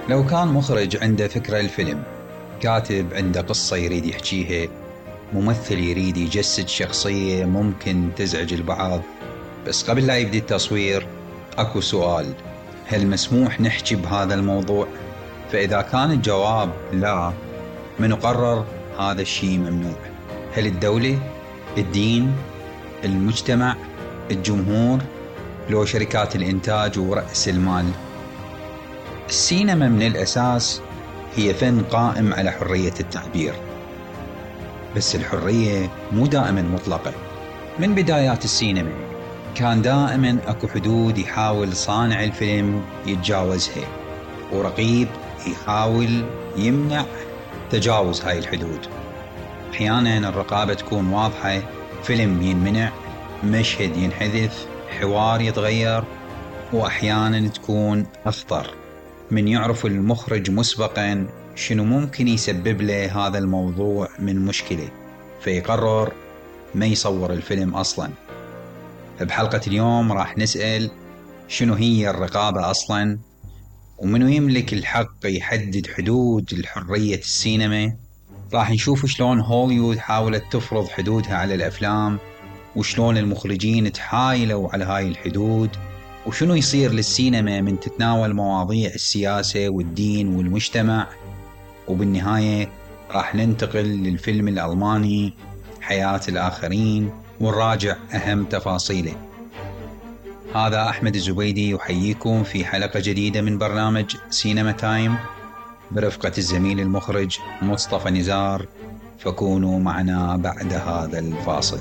لو كان مخرج عنده فكرة الفيلم، كاتب عنده قصة يريد يحكيها، ممثل يريد يجسد شخصية ممكن تزعج البعض، بس قبل لا يبدي التصوير اكو سؤال: هل مسموح نحكي بهذا الموضوع؟ فإذا كان الجواب لا، من قرر هذا الشيء ممنوع؟ هل الدولة؟ الدين؟ المجتمع؟ الجمهور؟ لو شركات الإنتاج ورأس المال؟ السينما من الأساس هي فن قائم على حرية التعبير، بس الحرية مو دائما مطلقة. من بدايات السينما كان دائما اكو حدود يحاول صانع الفيلم يتجاوزها، ورقيب يحاول يمنع تجاوز هاي الحدود. احيانا الرقابة تكون واضحة، فيلم ينمنع، مشهد ينحذف، حوار يتغير، واحيانا تكون اخطر من يعرف المخرج مسبقا شنو ممكن يسبب له هذا الموضوع من مشكلة، فيقرر ما يصور الفيلم اصلا. بحلقة اليوم راح نسأل شنو هي الرقابة اصلا، ومنو يملك الحق يحدد حدود الحرية السينما. راح نشوف شلون هوليوود حاولت تفرض حدودها على الافلام، وشلون المخرجين تحايلوا على هاي الحدود، وشنو يصير للسينما من تتناول مواضيع السياسة والدين والمجتمع. وبالنهاية راح ننتقل للفيلم الألماني حياة الآخرين ونراجع أهم تفاصيله. هذا أحمد الزبيدي يحييكم في حلقة جديدة من برنامج سينما تايم برفقة الزميل المخرج مصطفى نزار، فكونوا معنا بعد هذا الفاصل.